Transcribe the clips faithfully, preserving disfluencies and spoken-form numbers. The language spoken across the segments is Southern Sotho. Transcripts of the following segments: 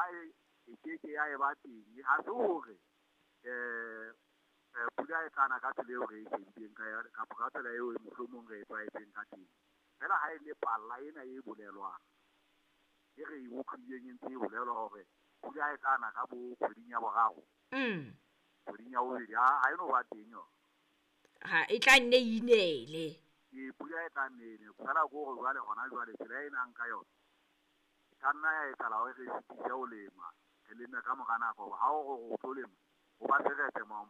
palla e e ke ke ya e ba teng ha se hore eh pula e tlana ka tsela eo re e shebileng ka yona kapa ka tsela eo mohlomong re e tlwaetseng ka teng. Fela ha e le palla ena e bolelwang e re e utlwileng e ntse e bolelwa hore pula e tlana ka bo kgweding ya boraro. Mm. Kgweding ya bobedi ha e no ba teng yona. Ha e tla nne inele. E pula e tla nne ine. Fela ko hore jwale hona jwale tsela e nang ka yona e ka nna ya etsahala hore re sitise ho lema. Re leme ka mora nako ha o re o tlo lema o ba seretse ma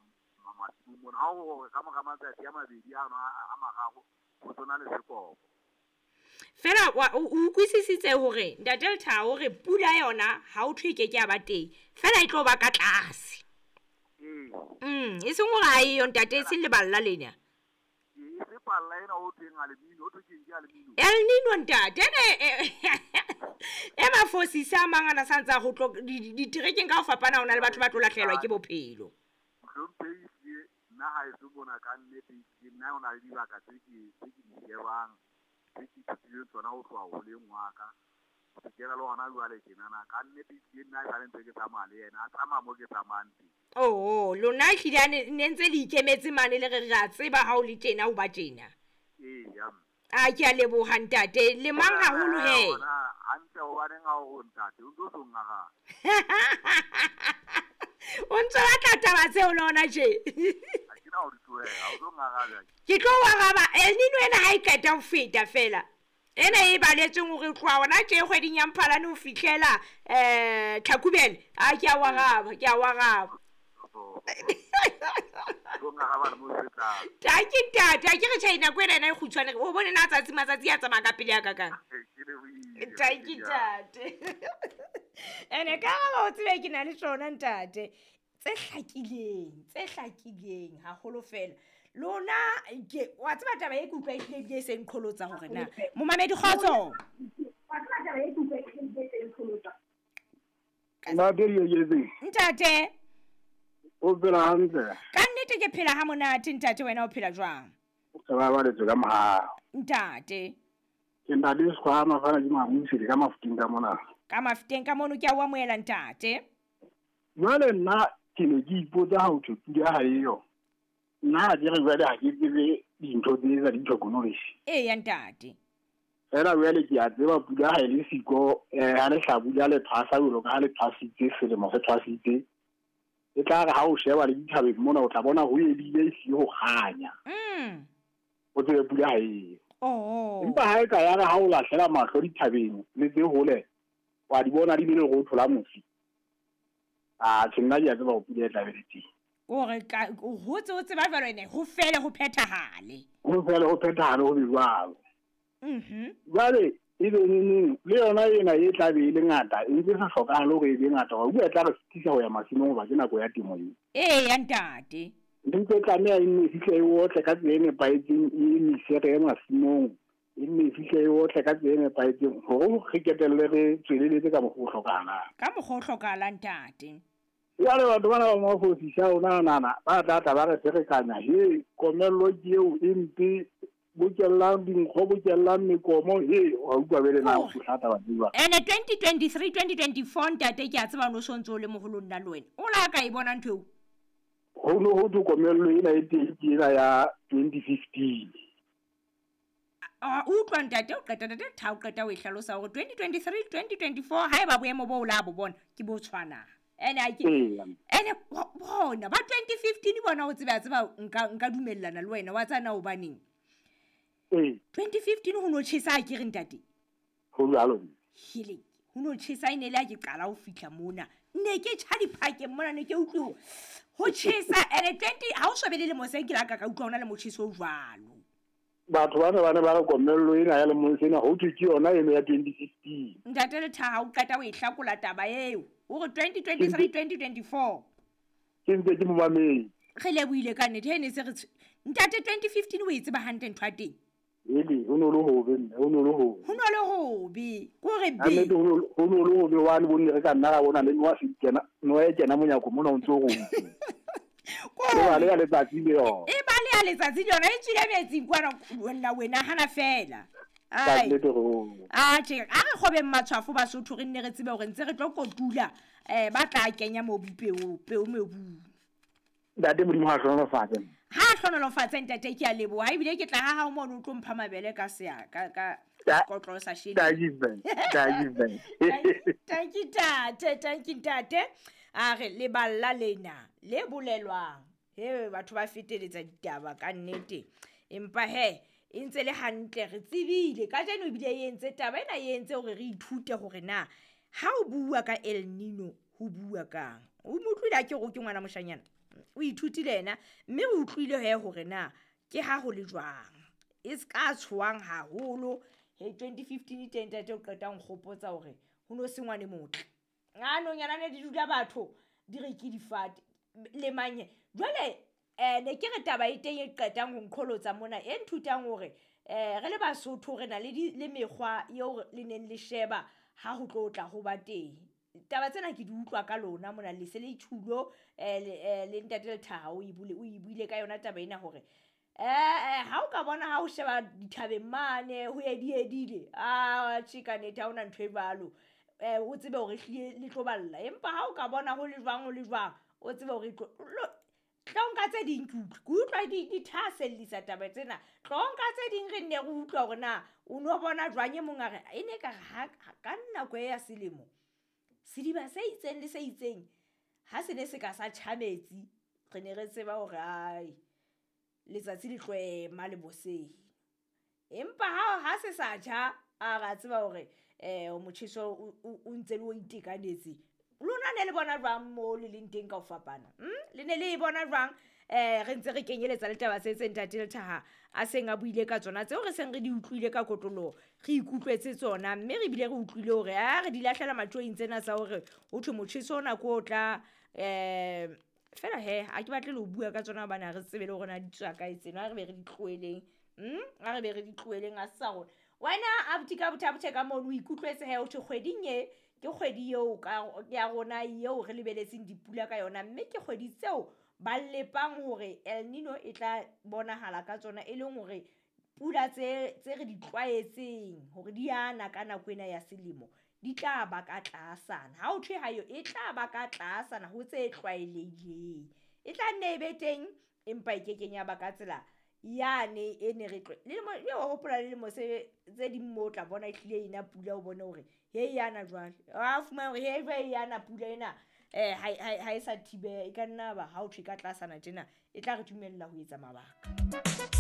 masimong mona. Ha o re ka mora matsatsi a mabedi ano a mararo ho tsona le sekobo. Fela wa o utlwisisitse hore Ntate Lethabo hore pula yona ha o thwe ke ke ya ba teng. Fela e tlo ba ka tlase. Ee. Mm, e seng hore ha eyo ntate e seng leballa lena. E se palla ena o thweng alumino, o thwe keng ke alumino. El Nino ntate ene e mafosisa a mang ana sa ntsa ho tlo diterekeng ka ho fapana hona le batho ba tlo lahlehelwa ke bophelo. Mohlomphehi ehlile nna ha e se mona ka nnete ehlile nna hona le dibaka tse ke tse ke di shebang tse ke ithutileng tsona ho tloha holeng wa ka. Ho fihlela le hona jwale tjenana ka nnete ehlile nna esale ntse ke tsamaya le yena a tsamaya mo ke tsamayang teng. Oh, lona ehlile a ne ne ntse le ikemetse mane le re re a tseba ha o le tjena o ba tjena. Ee, ya mme. A ke a leboha ntate le mang haholo he. Hona hantle hobaneng ha o re ntate o ntso so ngaraba. O ntso batla taba tseo le hona tje. Ha ke na ho di tlohela, o tlo ngaraba. Ke tlo o araba El Nino ena ha e qeta ho feta fela. Ena e baletsweng hore tloha hona tje kgweding ya Mphalane ho fihlela eh Tlhakubele. A ke a o araba, ke a o araba. Tlo ngaraba le mo fetang. Tanki ntate, ha ke re tjhe nako ena ena e kgutshwane. O bone na tsatsi matsatsi a tsamaya ka pele ya ka kang. Ke lebohile. Tanki ntate. Ene ka ba o tsebe ke na le tsona ntate. Tse hlakileng, tse hlakileng haholo fela. Lona ke wa tseba taba e ke utlwa ehlile ebile e seng qholotsa hore na. Momamedi kgotso. Wa tseba taba e ke utlwa ehlile ebile e seng qholotsa. Ntate Yeyezi. Ntate. O phela hantle. Ka nnete ke phela ha monate ntate, wena o phela jwang? Re ba baletswe ka mohau. Ntate. Ke ntate Sekgwama fana ke Mamusi ka Mafuteng ka mona. Ka Mafuteng ka mono ke a o amohela ntate. Jwale nna ke ne ke ipotsa ha ho thwe pula ha eyo. Nna ha ke re jwale ha ke tsebe dintho tse tsa di-technology. Eya ntate. Fela jwale ke a tseba pula ha e le siko, eh ha lehlabula le thwasa jwalo ka ha le thwasitse selemo se thwasitse. E tla re ha o sheba le dithabeng mona o tla bona ho edile e siyo ho kganya. Mm. O tsebe pula ha eyo. Oh. Empa ha e ka ya re ha o lahlela mahlo dithabeng le tse hole wa di bona di bile go thola mosi. Ah, tjhe nna ke a tseba ho pula e tla be le teng. Hore ka ho tse o tseba jwalo ene ho fele ho phethahale. Ho fele ho phethahale ho be jwalo. Mhm. Jwale e be neng le yona ena e tla be e le ngata e ntse sa hlokahale hore e be ngata hore bua tla re sitisa ho ya masimong hoba ke nako ya temo eo. Ee ya ntate. Ntho e tlameha e nne e fihle e otle ka tsela e nepahetseng e emise re ye masimong e nne e fihle e otle ka tsela e nepahetseng hore re qetelle re tsweleletse ka mokgwa o hlokahalang. Ka mokgwa o hlokahalang ntate. Jwale batho bana ba mafosisa a rona nana ba tla tla ba re ferekanya he komello ke eo e mpe bokellang dinkgo bokellang mekomo he wa utlwa bele na o hlata ba tseba. Ene twenty twenty-three twenty twenty-four ntate ke a tseba no sontso le moholo nna le wena. O la ka e bona ntho eo? Ho no ho thwe komello ena e teng ke ena ya twenty fifteen. A utlwa ntate o qeta ntate tha o qeta o e hlalosa hore twenty twenty-three twenty twenty-four haeba boemo bo o la bo bona ke bo tshwanang. Ene a ke ene bona ba twenty fifteen bona o tseba tseba nka nka dumellana le wena wa tsana o baneng. Ee. twenty fifteen ho no tjhesa ha ke re ntate. Ho jwalo. Hele, ho no tjhesa e ne le ha ke qala ho fihla mona. Ne ke tjha diphakeng mona ne ke utlwe ho tjhesa ene twenty ha o shebe le lemo se ke la ka ka utlwa hona le motjheso o jwalo. Batho bana bana ba re komello ena ya lemong sena ho thwe ke yona eno ya twenty fifteen. Ntate Lethaha o qeta o e hlakola taba eo. O re twenty twenty-three twenty twenty-four. Ke ntse ke momamedi. Re lebohile ka nnete he ne se re ntate twenty fifteen o e tseba hantle ntho ya teng. Ele ho no le hobe mme ho no le hobe. Ho no le hobe. Ko re be. Nnete ho no le hobe wa le bonne re ka nna ra bona le noa se kena noa e kena monyako mona o ntso go. Ko ba le ya letsatsi le yona. E ba le ya letsatsi le yona e tswile metsing kwana wena wena hana fela. Ai. Atjhe, a re kgobeng matshwafo Basotho re nne re tsebe hore ntse re tlo kotula eh ba tla kenya mobu peo peo mobung. Ntate Modimo ha hlonolofatse. Ha hlonolofatse ntate, ke a leboha. Ebile ke tla ha hao mono o tlo mpha mabele ka sea ka ka kotlo sa shele. Thank you, thank you. Thank you ntate, thank you ntate. A re leballa lena le bolelwang. He batho ba feteletsa ditaba ka nnete. Empa he e ntse le hantle re tsebile ka jeno ebile e entse taba ena e entse hore re ithute hore na ha o bua ka El Nino ho bua kang. O mo utlwile a ke re ke ngwana moshanyana, o ithutile yena mme o utlwile he hore na ke ha ho le jwang. E ska tshoang haholo he twenty fifteen teng ntate o qeta nkgopotsa hore ho no se ngwane motle. Nganong yana ne di dula batho di re ke difate le manye. Jwale eh ne ke re taba e teng e qetang ho nqholotsa mona e nthutang hore eh re le Basotho re na le le mekgwa eo le neng le sheba ha ho tlo tla ho ba teng. Taba tsena ke di utlwa ka lona mona le se le ithulo eh le ntate Lethaha o ibule o ibuile ka yona taba ena hore eh ha o ka bona ha o sheba dithabeng mane ho ediedile a tjhe ka nnete ha ona ntho e jwalo eh o tsebe hore hlile le tlo balla. Empa ha o ka bona ho le jwang ho le jwang o tsebe hore tlo nka tse ding ke utlwe ke utlwa di di thahasellisa taba tsena. Tlo nka tse ding re nne re utlwa hore na o no bona jwang e mong a re e ne ka re ha ka nako e ya selemo sediba se itseng le se itseng ha se ne se ka sa tjha metsi re ne re tseba hore ai letsatsi le tlo ema le boseng. Empa ha ha se sa tjha a ra tseba hore eh motjheso o ntse le o itekanetse. Lona ne le bona jwang mo le leng teng ka ho fapana? Mm? Le ne le e bona jwang? Eh re ntse re kenyeletsa le taba tse tse ntate Lethaha a seng a buile ka tsona tseo re seng re di utlwile ka kotloloho, re ikutlwetse tsona mme re bile re utlwile hore a re di lahlela matjoing tsena tsa hore ho thwe motjheso ona ke o tla eh fela he ha ke batle le ho bua ka tsona hobane ha re tsebe le hore na di tswa kae tsena, a re be re di tlohelleng. Mm? A re be re di tlohelleng a sa rona. Wena abuti ka bothabothe ka mono o ikutlwetse he ho thwe kgweding e ke kgwedi eo ka ya rona eo re lebeletseng dipula ka yona mme ke kgwedi tseo ba lepang hore El Nino e tla bonahala ka tsona e leng hore pula tse tse re di tlwaetseng hore di ana ka nako ena ya selemo di tla ba ka tlasana. Ha o thwe ha yo e tla ba ka tlasana ho tse tlwaelehileng. E tla nne e be teng empa e kekeng ya ba ka tsela yane e ne re tlwe. Le lemo le o hopola le lemo se tse ding mo o tla bona e hlile ena pula o bone hore he yana jwale. A fumana hore he jwale yana pula ena eh ha ha e sa thibeha e ka nna ba ha o thwe ka tlasana tjena e tla re dumella ho etsa mabaka.